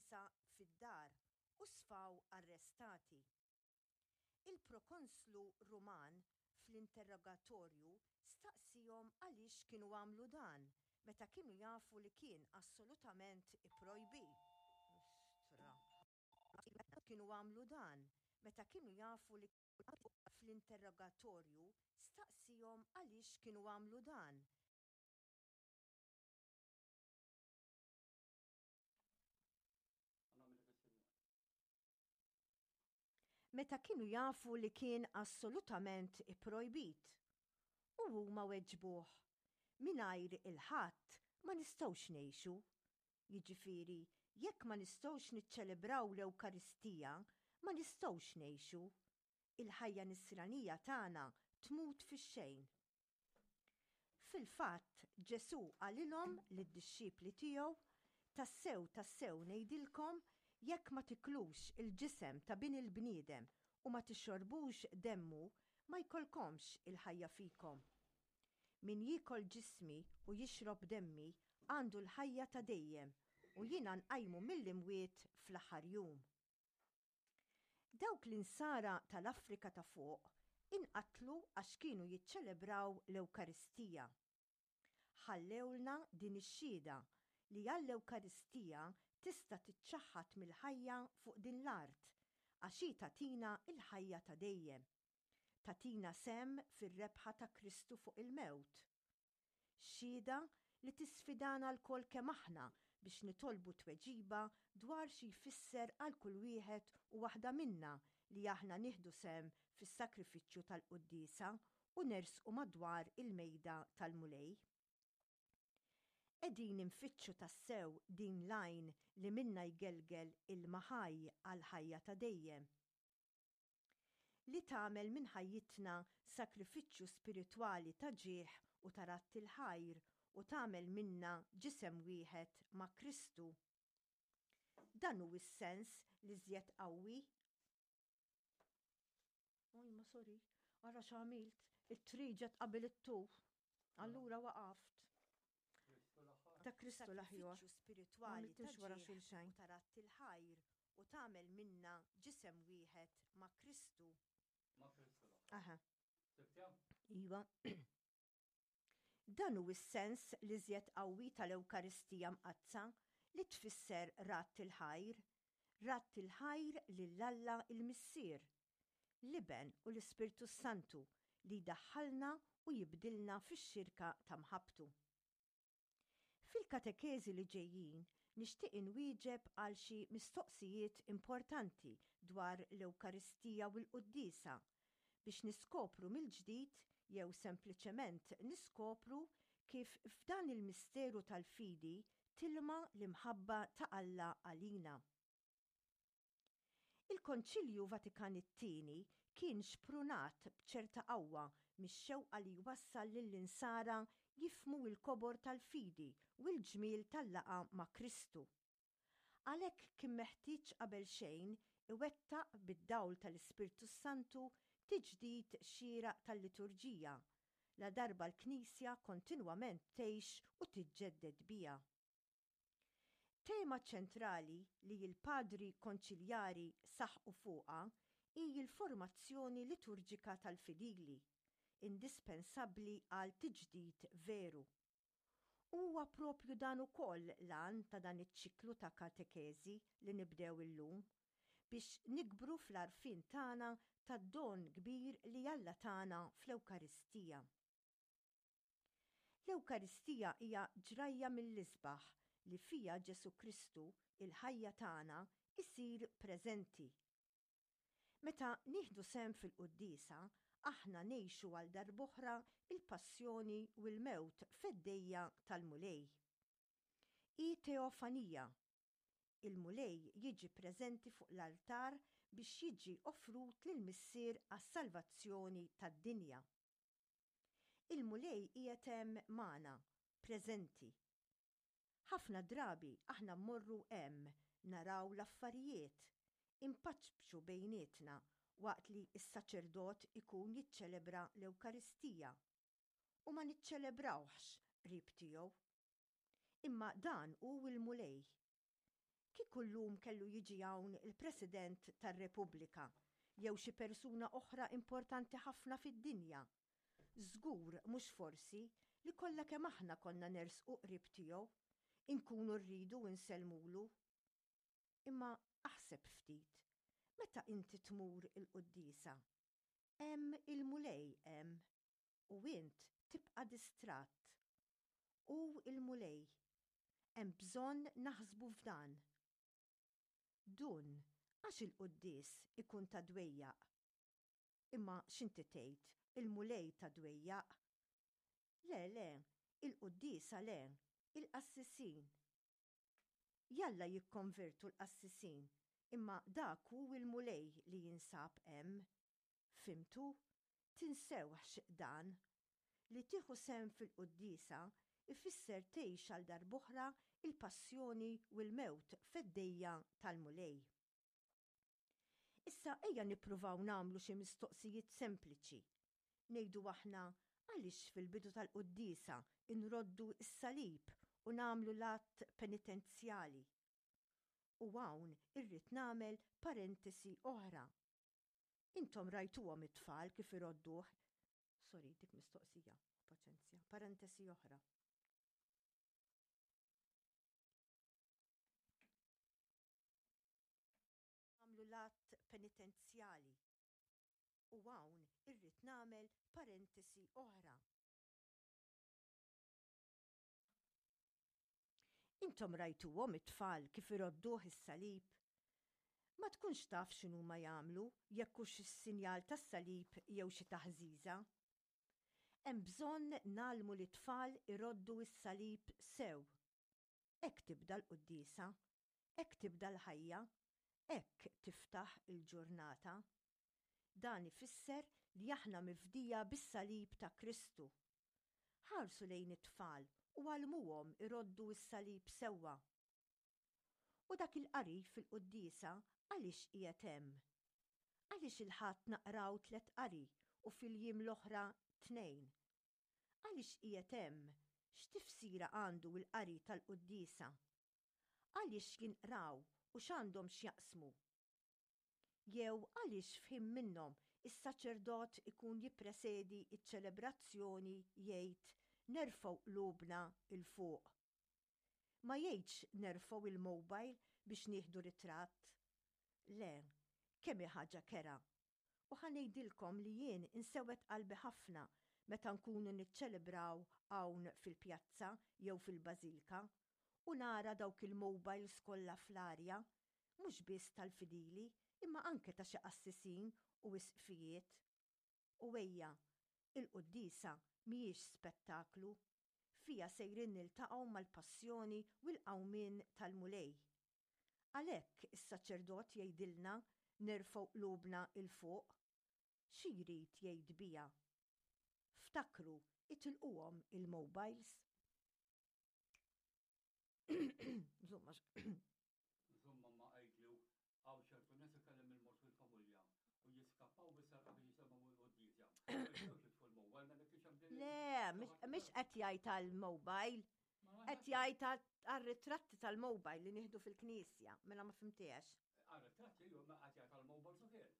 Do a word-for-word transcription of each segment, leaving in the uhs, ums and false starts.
il-quddiesa fid-dar u sfaw arrestati. Il-prokonslu Ruman fl-interrogatorju staqsihom għaliex kienu għamlu dan meta kienu jafu li kien assolutament ipprojbit. Kienu għamlu dan meta kienu jafu li fl-interrogatorju staqsihom għaliex kienu għamlu dan. Meta kienu jafu li kien assolutament ipprojbit. U huma weġbuh, mingħajr il-Ħadd ma nistgħux ngħixu. Jiġifieri, jekk ma nistgħux niċċelebraw l-Ewkaristija, ma nistgħux ngħixu. Il-ħajja nisranija tagħna tmut fix-xejn. Fil-fatt, Ġesù qalilhom lid-dixxipli tiegħu, Tassew, tassew ngħidilkom, jekk ma tiklux il-ġisem ta' Bin il-bniedem u ma tixorbux demmu, ma jkollkomx il-ħajja fikom. Min jiekol ġismi u jixrob demmi għandu l-ħajja ta' dejjem, u jiena nqajmu mill-imwiet fl-aħħar jum. Dawk l-insara tal-Afrika ta' fuq inqatlu għax kienu jiċċelebraw l-Ewkaristija. Ħallewlna din ix-xhieda li għall-Ewkaristija tista' tiċċaħħad mill-ħajja fuq din l-art għax hi tagħtina l-ħajja ta' dejjem. Tagħtina sehem fir-rebħa ta' Kristu fuq il-mewt. Xhieda li tisfidana lkoll kemm aħna biex nitolbu tweġiba dwar xi jfisser għal kull wieħed u waħda minna li aħna nieħdu sehem fis-sagrifiċċju tal-quddiesa u nersqu madwar il-mejda tal-Mulej. Qegħdin infittxu tassew din l-għajn li minnha jgelgel ilma ħaj għall-ħajja ta' dejjem. Li tagħmel minn ħajjitna sagrifiċċju spiritwali ta' ġieħ u ta' radd il-ħajr u tagħmel minna ġisem wieħed ma' Kristu. Dan hu s-sens l-iżjed qawwi. Oj, ma sorry, ara x'għamilt, it-tri ġet qabel it-tu. Allura waqaft. Ta' Kristu l-aħjar. Spiritwali ta' wara xulxejn. U ta' radd il-ħajr u tagħmel minna ġisem wieħed ma' Kristu. Ma' Kristu l-aħjar. Aha. Sibtja? Iva. Dan hu s-sens l-iżjed qawwi tal-Ewkaristija Mqaddsa li tfisser radd il-ħajr, radd il-ħajr lil Alla il-Missier, l-Iben u l-Ispirtu Santu li jdaħħalna u jibdilna fix-xirka ta' mħabbtu. Fil-katekeżi li ġejjin nixtieq inwieġeb għal xi mistoqsijiet importanti dwar l-Ewkaristija u l-Quddiesa biex niskopru mill-ġdid jew sempliċement niskopru kif f'dan il-misteru tal-fidi tilma l-imħabba ta' Alla għalina. Il-Konċilju Vatikan it-Tieni kien xprunat b'ċerta qawwa mix-xewqa li jwassal lill-insara jifhmu l-kobor tal-fidi u l-ġmiel tal-laqgħa ma' Kristu. Għalhekk kien meħtieġ qabel xejn iwettaq bid-dawl tal-Ispirtu Santu tiġdid xieraq tal-liturġija, ladarba l-Knisja kontinwament tgħix u tiġġedded biha. Tema ċentrali li l-padri konċiljari saħqu fuqha hi l-formazzjoni liturġika tal-fidili, indispensabbli għal tiġdid veru. U huwa propju dan ukoll l-għan ta' dan iċ-ċiklu ta' katekeżi li nibdew illum, biex nikbru fl-għarfien tagħna tad-don kbir li Alla tana fl-Ewkaristija. L-Ewkaristija hija ġrajja mill-isbaħ li fija Ġesù Kristu, il-ħajja tagħna, isir preżenti. Meta nieħdu sehem fil-quddiesa, aħna ngħixu għal darb'oħra il-passjoni u l-mewt feddejja tal-Mulej. Hi teofanija. Il-Mulej jiġi preżenti fuq l-altar biex jiġi offrut lill-Missier għas-salvazzjoni tad-dinja. Il-Mulej qiegħed hemm magħna, preżenti. Ħafna drabi aħna mmorru hemm naraw l-affarijiet, impaċċu bejnietna waqt li s-saċerdot ikun jiċċelebra l-Ewkaristija u ma niċċelebrawhx qrib tiegħu. Imma dan hu l-Mulej. Kieku llum kellu jiġi hawn il-President tar-Repubblika jew xi persuna oħra importanti ħafna fid-dinja, żgur mhux forsi li kollha kemm aħna konna nersqu qrib tiegħu, inkunu rridu nsellmulu. Imma aħseb ftit, meta inti tmur il-quddiesa, hemm il-Mulej hemm u int tibqa' distratt. Hu l-Mulej. Hemm bżonn naħsbu f'dan. Dun, għax il-quddies ikun ta' dwejjaq. Imma x'inti tgħid, il-Mulej ta' dwejjaq? Le, le, il-quddiesa le, il-qassisin. Jalla jikkonvertu l-qassisin, imma dak hu l-Mulej li jinsab hemm. Fhimtu? Tinsewhx dan. Li tieħu sehem fil-quddiesa ifisser tgħix għal darb'oħra il-passjoni u l-mewt feddejja tal-Mulej. Issa ejja nippruvaw nagħmlu xi mistoqsijiet sempliċi. Ngħidu aħna għaliex fil-bidu tal-quddiesa nroddu s-salib u nagħmlu l-att penitenzjali. U hawn irrid nagħmel parentesi oħra. Intom rajtuhom it-tfal kif irodduh. Sorry, dik mistoqsija, paċenzja. Parentesi oħra. Nagħmlu l-att penitenzjali. U hawn irrid nagħmel parentesi oħra. Intom rajtuhom it-tfal kif irodduh is-salib? Ma tkunx taf x'inhuma jagħmlu, jekk hux is-sinjal tas-salib jew xi taħżiża. Hemm bżonn ngħallmu lit-tfal iroddu s-salib sew. Hekk tibda l-quddiesa, hekk tibda l-ħajja, hekk tiftaħ il-ġurnata. Dan ifisser li aħna mifdija bis-salib ta' Kristu. Ħarsu lejn it-tfal u għallmuhom iroddu s-salib sewwa. U dak il-qari fil-quddiesa għaliex qiegħed hemm? Għaliex il-Ħadd naqraw tliet qari u fil-jiem l-oħra tnejn? Għaliex qiegħed hemm? X'tifsira għandu l-qari tal-quddiesa? Għaliex jinqraw u x'għandhom x'jaqsmu? Jew għaliex f'ħin minnhom is-saċerdot ikun jippresedi ċ-ċelebrazzjoni jgħid nerfgħu qlubna 'l fuq? Ma jgħidx nerfgħu il-mobile biex nieħdu ritratt. Le, kemm hi ħaġa kerha. U ħa ngħidilkom li jien insewwed qalbi ħafna meta nkunu niċċelebraw hawn fil-pjazza jew fil-bażilka u nara dawk il-mobiles kollha fl-arja, mhux biss tal-fidili imma anke ta' xi qassisin u isqfijiet. U ejja, il-quddiesa mhijiex spettaklu. Fiha sejrin niltaqgħu mal-passjoni u l-qawmien tal-Mulej. Għalhekk is-saċerdot jgħidilna nerfgħu qlubna 'l fuq. Xi jrid jgħid biha? Ftakru, itilquhom il-mobiles. Żomm għax. Żomm mamma għidlu hawn ċertu nies ikellem il-mort fil-familja u jiskappaw bis-serqa biex jisemgħu l-quddiesa. Ma jistgħux jitfu l-mobile mela kif hemm din. Le, mhix qed jgħid għall-mobile. Qed jgħid għar-ritratti tal-mobile li nieħdu fil-knisja, mela ma fimtiex. Għar-ritratti jew ma qed jgħid għall-mobile ukoll.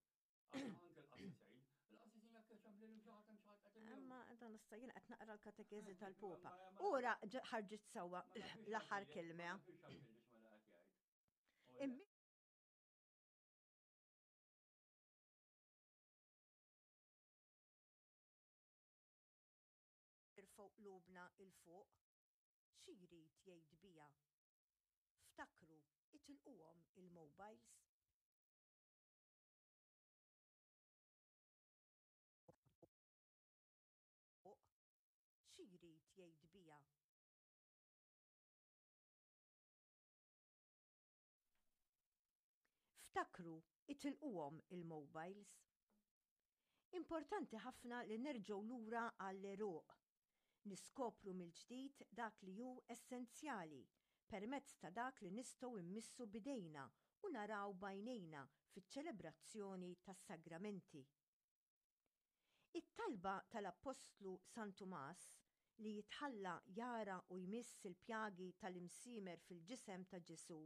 Anke l-qassisin. Il-qassisin jekk hemm lil xi ħadd hemm xi ħadd qed Imma dan issa jien qed naqra l-katekeżi tal-Popa. Ura ħarġit sewwa l-aħħar kelma. Nirfgħu qlubna 'l fuq. Xi jrid jgħid biha? Ftakru, itilquhom il-mobiles. Xi jrid jgħid biha? Ftakru, itilquhom il-mobiles. Importanti ħafna li nerġgħu lura għall-għeruq. Niskopru mill-ġdid dak li hu essenzjali permezz ta' dak li nistgħu mmissu b'idejna u naraw b'għajnejna fiċ-ċelebrazzjoni tas-sagramenti. It-talba tal-Appostlu San Tumas li jitħalla jara u jmiss il-pjagi tal-imsiemer fil-ġisem ta' Ġesù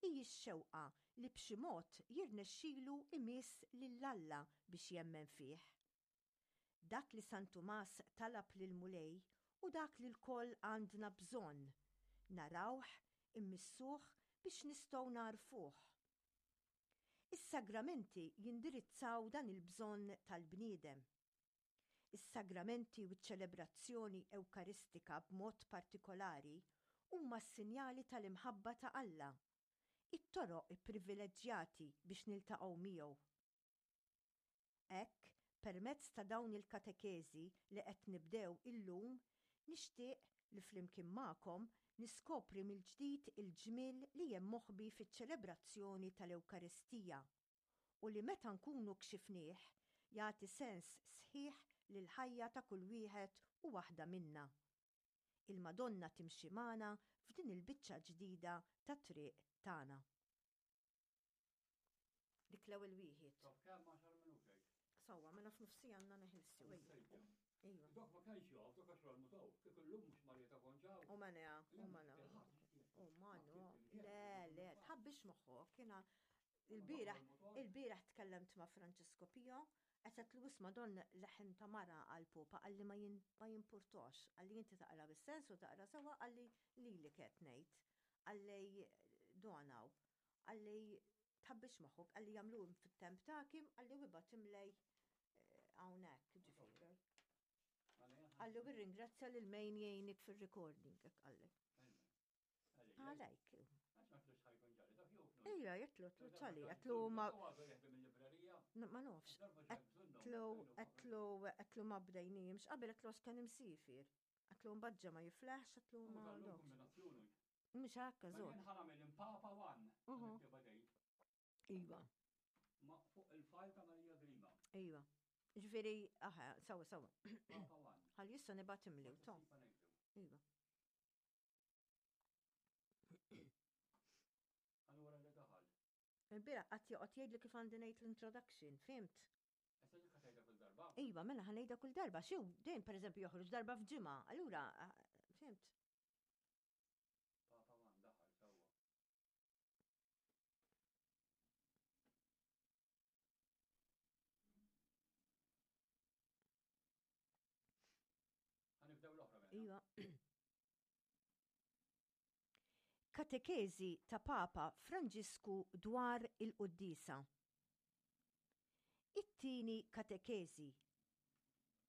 hi x-xewqa li b'xi mod jirnexxilu jmiss lil Alla biex jemmen fih. Dak li San Tumas talab lill-Mulej hu dak li lkoll għandna bżonn, narawh, immissuh biex nistgħu nagħrfuh. Is-sagramenti jindirizzaw dan il-bżonn tal-bniedem. Is-sagramenti u ċ-ċelebrazzjoni Ewkaristika b'mod partikolari huma s-sinjali tal-imħabba ta' Alla, it-toroq ipprivileġġjati biex niltaqgħu miegħu. Hekk, permezz ta' dawn il-katekeżi li qed nibdew illum, nixtieq li flimkien magħkom niskopri mill-ġdid il-ġmiel li hemm moħbi fiċ-ċelebrazzjoni tal-Ewkaristija u li meta nkunu kxifnieh jagħti sens sħiħ lill-ħajja ta' kull wieħed u waħda minna. Il-Madonna timxi magħna f'din il-biċċa ġdida tat-triq tagħna. Dik l-ewwel wieħed. Taf kemm għaxar minuti. Sewwa, mela f'nofsi għandna neħilsu. Sejja. Iva. Dok ma kienx jaf, dok għax l-mutaw. Kif illum mhux Marija Konġaw. U ma u ma U ma no. Le, le, tħabbix moħħok, jiena il-bieraħ, il-bieraħ tkellimt ma' Francesco Pio, għedtlu isma' don leħen ta' mara għal-popa, qalli ma jin- ma jimpurtox, qalli inti taqra bis-sens u taqra sewa, qalli li li qed ngħid, qalli donaw, qalli tħabbix moħħok, qalli jagħmlu fit-temp takim, qalli u ibgħathomli hawnhekk, ġifieri. Qalli u ringrazzja lil min jgħinik fil-recording, hekk qalli. Għalajk. Ejja, għedtlu, għedtlu ċali, għedtlu ma. Ma nafx. Għedtlu, għedtlu, għedtlu ma bdejnijimx, qabel għedtlu għax kien imsiefer. Għedtlu mbagġa ma jiflaħx, għedtlu ma nafx. Mhux hekk, żgur. Jien ħa nagħmel Papa One. Mhm. Iva, Ma fuq il-file ta' Marija Grima. iva. Ġifieri, aha, sewwa, sewwa. Papa One. Ħalli issa nibgħathomli, to. Iva. Allura li daħal. Il-bieraħ qatt joqgħod jgħidli kif għandi ngħid l-introduction, fhimt? Issa dik ħa tgħidha kull darba. Iva, mela ħa ngħidha kull darba, xiw, din per eżempju joħroġ darba f'ġimgħa, allura, ah, fhimt? Papa One daħal sewwa. Ħa nibdew l-oħra mela. Iva. Katekeżi ta' Papa Franġisku dwar il-Quddiesa. It-tieni katekeżi.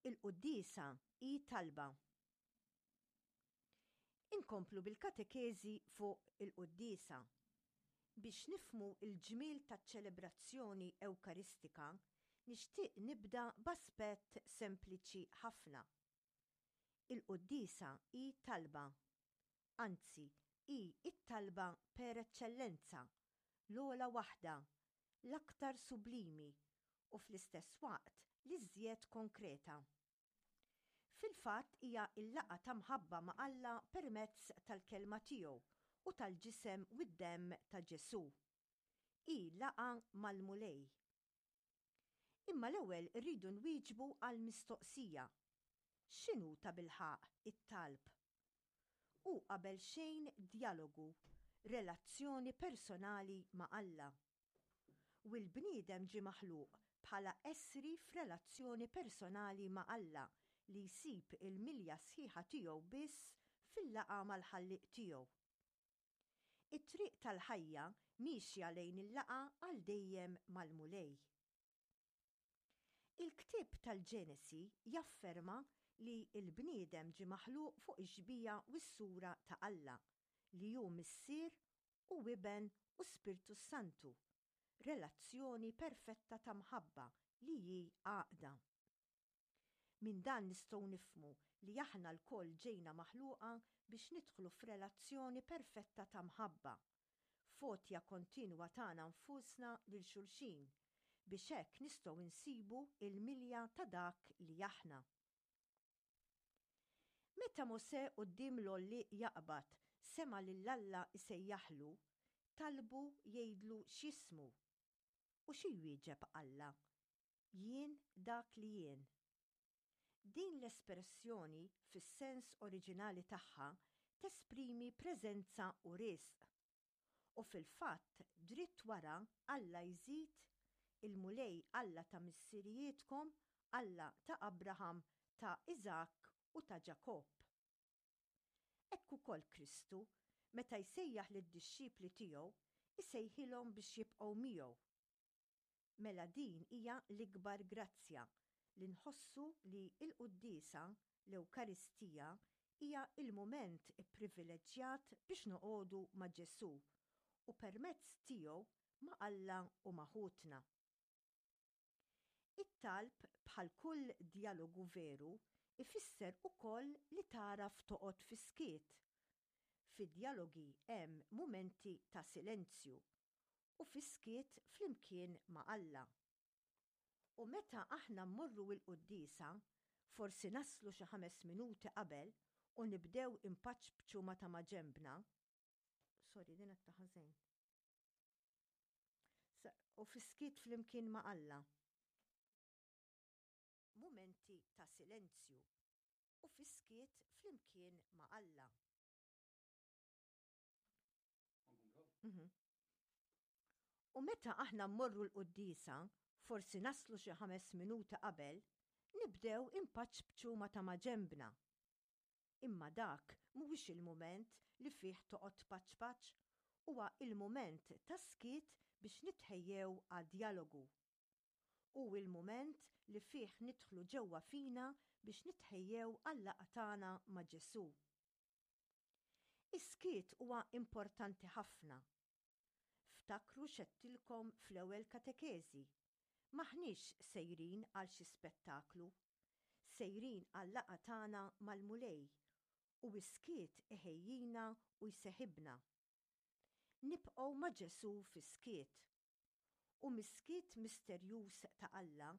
Il-Quddiesa hi talba. Inkomplu bil-katekeżi fuq il-Quddiesa. Biex nifhmu il-ġmiel taċ-ċelebrazzjoni Ewkaristika, nixtieq nibda b'aspett sempliċi ħafna. Il-Quddiesa hi talba. Anzi, hi it-talba per eċċellenza, l-ogħla waħda, l-aktar sublimi u fl-istess waqt l-iżjed konkreta. Fil-fatt hija l-laqgħa ta' mħabba ma' Alla permezz tal-kelma tiegħu u tal-ġisem u d-demm ta' Ġesù. Hi laqgħa mal-Mulej. Imma l-ewwel irridu nwieġbu għal mistoqsija. X'inhu tabilħaqq it-talb? Hu qabel xejn djalogu, relazzjoni personali ma' Alla. U l-bniedem ġie maħluq bħala essri f'relazzjoni personali ma' Alla li jsib il-milja sħiħa tiegħu biss fil-laqgħa mal-ħallieq tiegħu. It-triq tal-ħajja mixja lejn il-laqgħa għal dejjem mal-Mulej. Il-ktieb tal-Ġenesi jafferma li l-bniedem ġie maħluq fuq ix-xbieha u s-sura ta' Alla li hu Missier u Iben u Spirtu Santu, relazzjoni perfetta ta' mħabba li hi għaqda. Minn dan nistgħu nifhmu li aħna lkoll ġejna maħluqa biex nidħlu f'relazzjoni perfetta ta' mħabba, f'għotja kontinwa tagħna nfusna lil xulxin biex hekk nistgħu nsibu il-milja ta' dak li aħna. Meta Mosè quddiem l-għollieq jaqbad sema' lil Alla isejjaħlu, talbu jgħidlu x'jismu. U xi jwieġeb Alla? Jien dak li jien. Din l-espressjoni fis-sens oriġinali tagħha tesprimi preżenza u risq. U fil-fatt, dritt wara Alla jżid il-Mulej Alla ta' missirijietkom, Alla ta' Abraham, ta' Iżakk u ta' Ġakobb. Hekk ukoll Kristu, meta jsejjaħ lid-dixxipli tiegħu, isejħilhom biex jibqgħu miegħu. Mela din hija l-ikbar grazzja li nħossu li l-quddiesa, l-Ewkaristija, hija l-mument ipprivileġġjat biex noqogħdu ma' Ġesù u permezz tiegħu ma' Alla u ma' ħutna. It-talb bħal kull djalogu veru ifisser ukoll li tagħraf toqgħod fis-skiet. Fid-djalogi hemm mumenti ta' silenzju u fis-skiet flimkien ma' Alla. U meta aħna mmorru l-quddiesa, forsi naslu xi ħames minuti qabel u nibdew inpaċpċu ma' ta' maġenbna. Sorry, din qed ħażin. U fis-skiet flimkien ma' Alla. Mumenti ta' silenzju u fis-skiet flimkien ma' Alla. Mhm. U meta aħna mmorru l-quddiesa, forsi naslu xi ħames minuti qabel, nibdew inpaċpċu ma' ta' maġenbna. Imma dak mhuwiex il-mument li fih toqgħod tpaċpaċ, huwa il-mument ta' skiet biex nitħejjew għad-djalogu. Hu il-mument li fih nidħlu ġewwa fina biex nitħejjew għal-laqgħa tagħna ma' Ġesù. Is-skiet huwa importanti ħafna. Ftakru x'għedtilkom fl-ewwel katekeżi. M'aħniex sejrin għal xi spettaklu. Sejrin għal-laqgħa tagħna mal-Mulej u s-skiet iħejjina u jseħibna. Nibqgħu ma' Ġesù fis-skiet. U mis-skiet misterjuż ta' Alla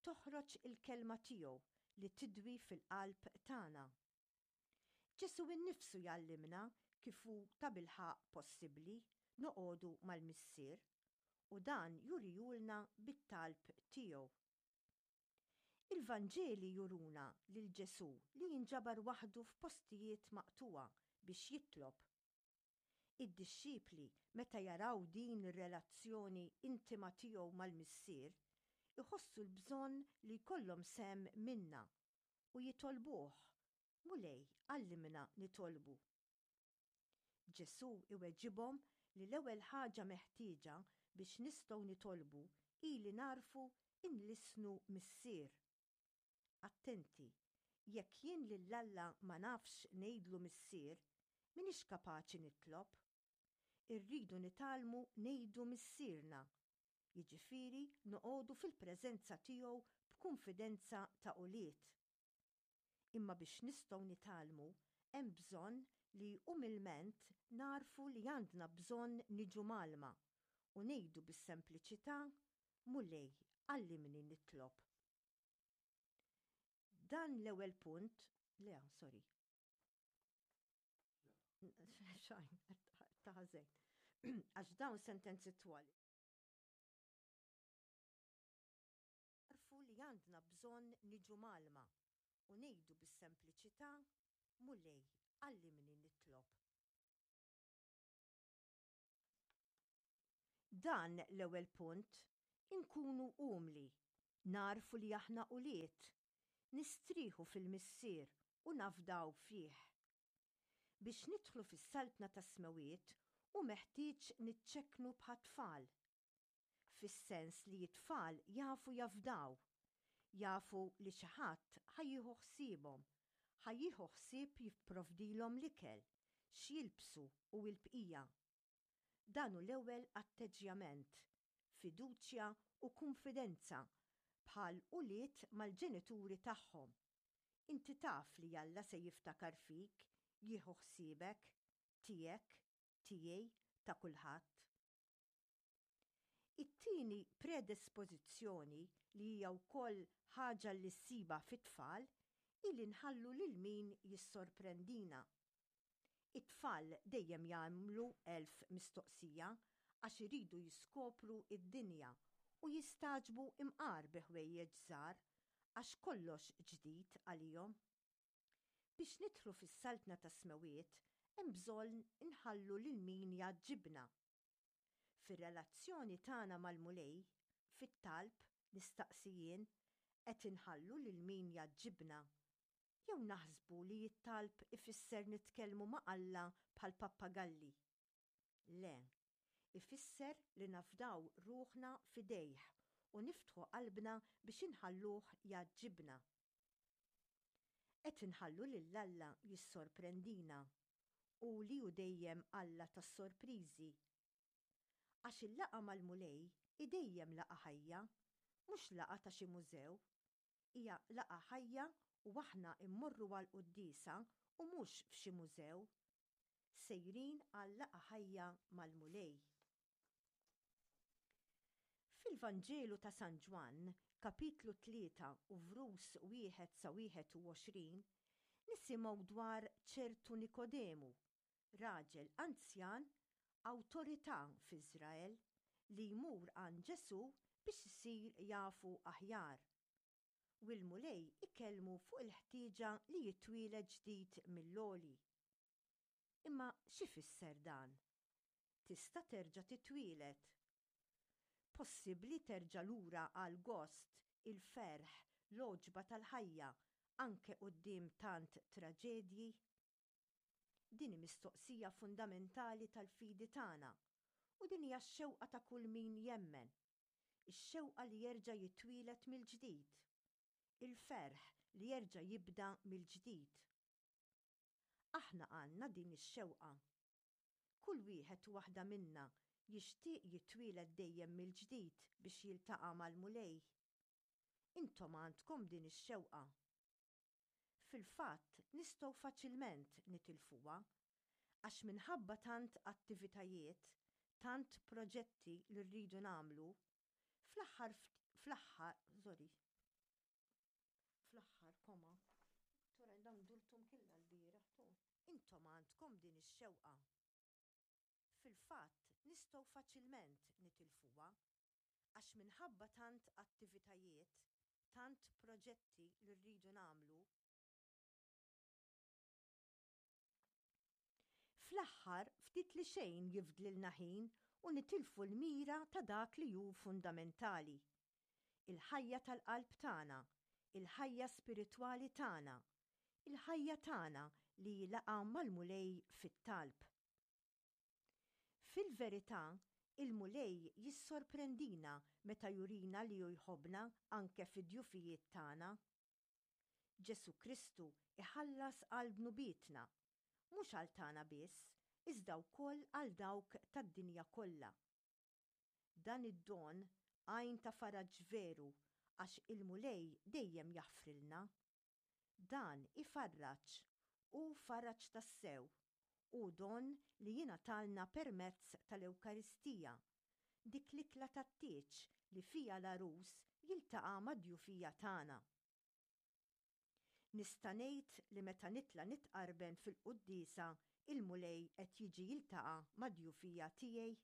toħroġ il-kelma tiegħu li tidwi fil-qalb tagħna. Ġesù innifsu jgħallimna kif hu tabilħaqq possibbli noqogħdu mal-Missier u dan jurijulna bit-talb tiegħu. Il-Vanġeli juruna lil Ġesù li jinġabar waħdu f'postijiet maqtugħa biex jitlob. Id-dixxipli meta jaraw din ir-relazzjoni intima tiegħu mal-Missier, iħossu l-bżonn li jkollhom sehem minnha u jitolbuh, Mulej, għallimna nitolbu. Ġesù iweġibhom li l-ewwel ħaġa meħtieġa biex nistgħu nitolbu hi li nagħrfu nlissnu Missier. Attenti, jekk jien lil Alla ma nafx ngħidlu Missier, m'iniex kapaċi nitlob. Irridu nitgħallmu ngħidu Missierna, jiġifieri noqogħdu fil-preżenza tiegħu b'kunfidenza ta' ulied. Imma biex nistgħu nitgħallmu hemm bżonn li umilment nagħrfu li għandna bżonn niġu mgħallma u ngħidu bis-sempliċità, Mulej, għallimni nitlob. Dan l-ewwel punt, le, sorry. Xajn, ta' ħażin. Għax dawn sentenzi twal. Nagħrfu li għandna bżonn niġu mgħallma u ngħidu bis-sempliċità, Mulej, għallimni nitlob. Dan l-ewwel punt, inkunu umli, nagħrfu li aħna ulied, nistrieħu fil-Missier u nafdaw fih. Biex nidħlu fis-Saltna tas-Smewwiet hu meħtieġ niċċekknu bħat-tfal. Fis-sens li t-tfal jafu jafdaw, jafu li xi ħadd ħa jieħu ħsiebhom, ħa jieħu ħsieb jipprovdilhom l-ikel, x'jilbsu u l-bqija. Dan hu l-ewwel atteġġjament, fiduċja u kunfidenza bħal ulied mal-ġenituri tagħhom. Inti taf li Alla se jiftakar fik, jieħu ħsiebek, tiegħek, tiegħi, ta' kulħadd. It-tieni predispożizzjoni li hija wkoll ħaġa li ssibha fit-tfal hi li nħallu lil min jissorprendina. It-tfal dejjem jagħmlu elf mistoqsija għax iridu jiskopru d-dinja u jistagħġbu imqar bi ħwejjeġ żgħar għax kollox ġdid għalihom. Biex nidħlu fis-Saltna tas-Smewwiet hemm bżonn inħallu lil min jgħaġġibna. Fir-relazzjoni tagħna mal-Mulej, fit-talb, nistaqsi jien, qed inħallu lil min jgħaġġibna? Jew naħsbu li t-talb ifisser nitkellmu ma' Alla bħal pappagalli? Le, ifisser li nafdaw ruħna f'idejh u niftħu qalbna biex inħalluh jgħaġġibna. Qed inħallu lil Alla jissorprendina u li hu dejjem Alla tas-sorpriżi. Għax il-laqgħa mal-Mulej hi dejjem laqgħa ħajja, mhux laqgħa ta' xi mużew. Hija laqgħa ħajja u aħna mmorru għall-quddiesa u mhux f'xi mużew. Sejrin għal laqgħa ħajja mal-Mulej. Fil-Vanġelu ta' San Ġwann, kapitlu tlieta u vrus wieħed sa wieħed u għoxrin, nisimgħu dwar ċertu Nikodemu, raġel anzjan, awtorità f'Iżrael, li jmur għand Ġesù biex isir jafu aħjar. U l-Mulej ikellmu fuq il-ħtieġa li jitwieled ġdid mill-għoli. Imma x'ifisser dan? Tista' terġa' titwieled. Possibbli terġa' lura għall-gost, il-ferħ, l-għoġba tal-ħajja, anke quddiem tant traġedji? Din hi mistoqsija fundamentali tal-fidi tagħna u din hija x-xewqa ta' kull min jemmen. Ix-xewqa li jerġa' jitwieled mill-ġdid. Il-ferħ li jerġa' jibda mill-ġdid. Aħna għandna din ix-xewqa. Kull wieħed u waħda minna jixtieq jitwieled dejjem mill-ġdid biex jiltaqa' mal-Mulej. Intom għandkom din ix-xewqa. Fil-fatt nistgħu faċilment nitilfuha għax minħabba tant attivitajiet, tant proġetti li rridu nagħmlu, fl-aħħar fl-aħħar, sorry, fl-aħħar koma, tura dawn durtum killa l-bieraħ tu. Intom għandkom din ix-xewqa. Fil-fatt nistgħu faċilment nitilfuha għax minħabba tant attivitajiet, tant proġetti li rridu nagħmlu, fl-aħħar ftit li xejn jifdlilna ħin u nitilfu l-mira ta' dak li hu fundamentali. Il-ħajja tal-qalb tagħna, il-ħajja spiritwali tagħna, il-ħajja tagħna li hi laqgħa mal-Mulej fit-talb. Fil-verità, il-Mulej jissorprendina meta jurina li hu jħobbna anke fid-djufijiet tagħna. Ġesù Kristu iħallas għal dnubietna, mhux għal tagħna biss, iżda wkoll għal dawk tad-dinja kollha. Dan id-don għajn ta' faraġ veru għax il-Mulej dejjem jaħfrilna. Dan ifarraġ, hu faraġ tassew, hu don li jingħatalna permezz tal-Ewkaristija, dik l-ikla tat-tieġ li fiha l-għarus jiltaqa' mad-djufija tagħna. Nista' ngħid li meta nitla' nitqarben fil-quddiesa il-Mulej qed jiġi jiltaqa' mad-djufija tiegħi?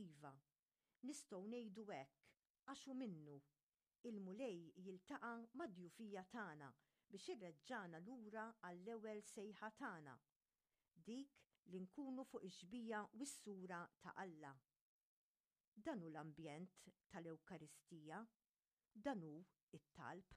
Iva, nistgħu ngħidu hekk għax hu minnu, il-Mulej jiltaqa' mad-djufija tagħna biex ireġġagħna lura għall-ewwel sejħa tagħna, dik li nkunu fuq ix-xbieha u s-sura ta' Alla. Dan hu l-ambjent tal-Ewkaristija, dan hu t-talb.